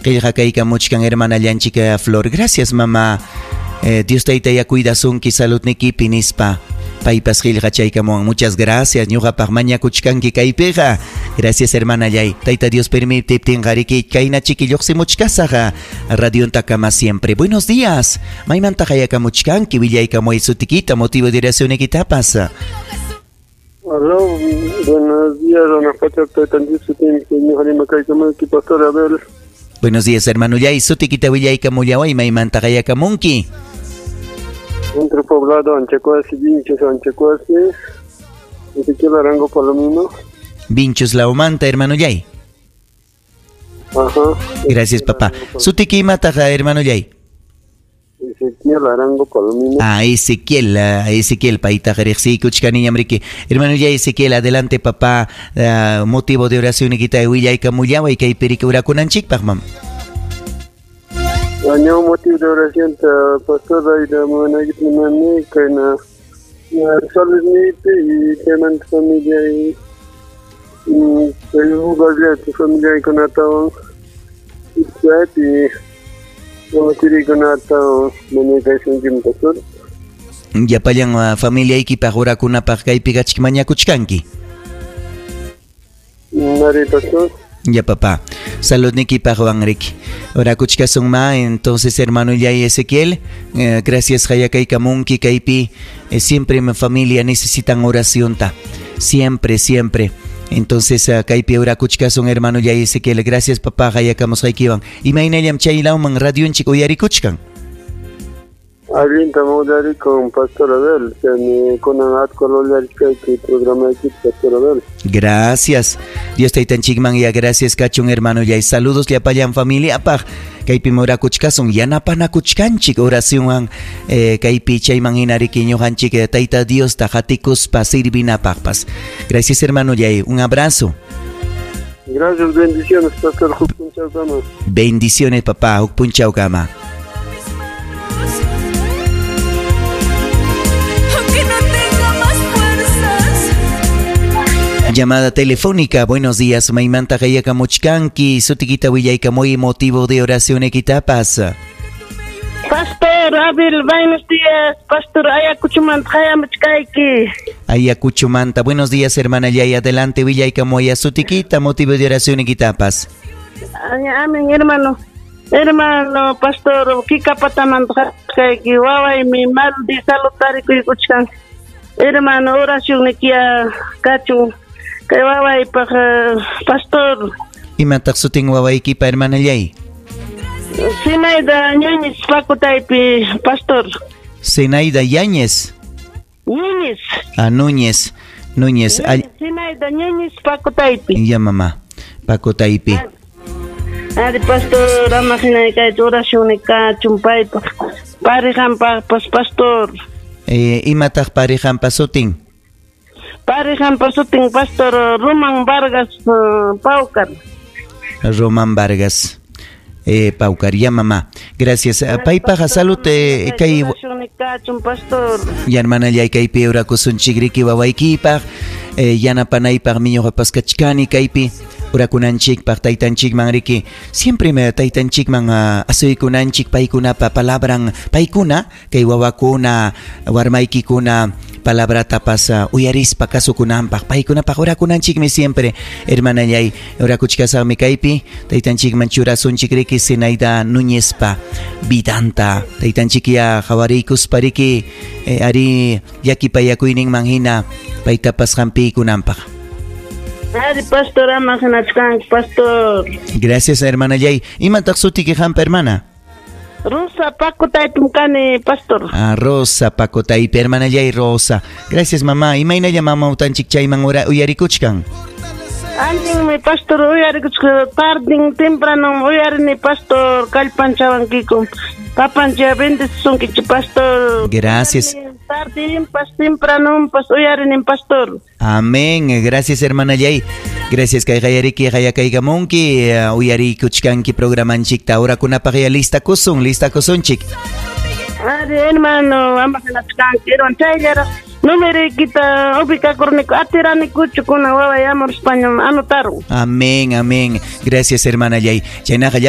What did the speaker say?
Qillqakaykamuchkan hermanallanchik Flor. Gracias, mamá. Dios taytaya cuidasunki saludnikipi nispa. Paypas qillqachaykamuwan. Muchas gracias. Ñuqapaq mañakuchkanki kaypiqa. Gracias, hermanallay. Tayta Dios permitiptinqa riki kayna chiki lluqsimuchkasaq radiontakama siempre. Buenos días. Maymanta qayakamuchkanki willaykamuy sutikita motivo de oracionnikitapas. Aló, buenos días, don Pacha, Pastor Abel. Buenos días, hermano Yay. Sutikita willaykamullaway maymanta qayakamunki. Centro poblado Anchacuasi, Vinchos, Anchacuasi, Ezequiel Arango Palomino. Vinchos Laumanta, hermano Yay. Ajá. Gracias, papá. Sutiki imataqa, hermano Yay. Ezequiel Arango Palomino. Ah, Ezequiel, Ezequiel, paytaqa riqsiykuchkaniñam riki. Hermano Yay, Ezequiel, adelante, papá. Motivo de oración nikita willaykamullaway kaypi riki orakunanchikpaq, mam. Año motivo de oración ta pastor Aida Managit Mani kayna saludnipi y chaymanta familia y kay lugarllapi familiaykunatawan chaypi wawachuriykunatawan mañakaysunkim pastor. Llapallan familiaykipaq orakunapaq kaypi kachik mañakuchkanki. Mari pastor. Ya papá, saludnikipaq riki. Orakuchkasun ma, entonces hermano Yay Ezequiel, gracias hayakaykamunki kaypi, siempre mi familia necesitan oracionta, siempre, siempre. Entonces kaypi orakuchkasun hermano Yay Ezequiel, gracias papá hayakamusqaykiwan. Imaynallam chay lawman radionchik uyarikuchkan. Allintam uyarikun Pastor Abel, chaymi kunan atqo lullarishkayki programayki Pastor Abel. Gracias. Dios taytanchikman ya gracias kachun hermano Yay. Saludos llapallan familiapaq. Kaypi orakuchkasun yanapanakuchkanchik oracionwan kaypi chayman hina riki ñuqanchik Tayta Diosta qatikuspa sirvinapaqpas. Gracias hermano Yay. Un abrazo. Gracias, bendiciones pastor huk punchawkama. Bendiciones papá, huk punchawkama. Llamada telefónica, buenos días, maymanta qayakamuchkanki, sutikita willaykamuy motivo de oración ekitapas. Pastor Abel, buenos días, Pastor Ayacuchumanta qayamuchkayki. Ayacuchumanta, buenos días, hermana Yay, adelante willaykamuy sutikita motivo de oración ekitapas. Amén, hermano. Hermano, Pastor, kikapatamanta qayakamuchkayki, wawaymi mal de salud tarikuykuchkan. Hermano, oración nikia kachun. Kay wawaypaq pastor. Imataq sutin wawaykipa hermana Yay? Zenaida Ñuñez Pacotaypi, pastor. Zenaida Yáñez. Núñez. Ah, Núñez. Núñez. Zenaida Ñuñez Pacotaypi. Ya mamá, Pacotaypi. Ari pastor, ama hinay kay oración kachun paypaq. Parijanpaqpas pastor. Imataq parijanpa sutin? Parijanpa sutin pastor Román Vargas Paucar. Román Vargas Paucar, ya mamá. Gracias. Paypaqa salud kay ya hermana yay kaypi orakusunchik riki wawaykipaq yanapanaypaq miñuqapas kachkani kaypi orakunanchikpaq taytanchikman riki. Siempre me taytanchikman asuykunanchik paykunapa palabran paykuna kay wawakuna warmaykikuna palabratapas uyarispa kasukunanpaq paykunapaq orakunanchikmi siempre hermana yay orakuchkasaqmi kaypi taytanchikman churasunchik riki Zenaida Núñezpa vidanta taytanchik ya qawariykuspa riki ari llakipayakuyninman hina paytapas hampiykunanpaq. Ari pastor ama hinachkanki pastor. Gracias hermana Yay. Imataq sutiki hampa hermana? Rosa Pacotaypim kani pastor. Ah, Rosa Pacotaypi hermana Yay Rosa. Gracias mamá. Imaynalla mama utanchik chayman uyarikuchkan? Allinmi pastor uyarikuchkan tardin temprano uyarini pastor kallpanchawankiku. Papancha bendecisunkichik pastor. Gracias. Tardin temprano pas uyarinin pastor. Amén. Gracias hermana Yay. Gracias kay qayariki qayakaykamunki uyarikuchkanki programanchikta orakunapaq ya lista kusunchik. Ari hermano ama hinachkanki hermano chayllaraq numeroykita ubikakurniku atiranikuchu kuna waway amor español anotaron. Amén, amén. Gracias hermana Yay. Chaynaqa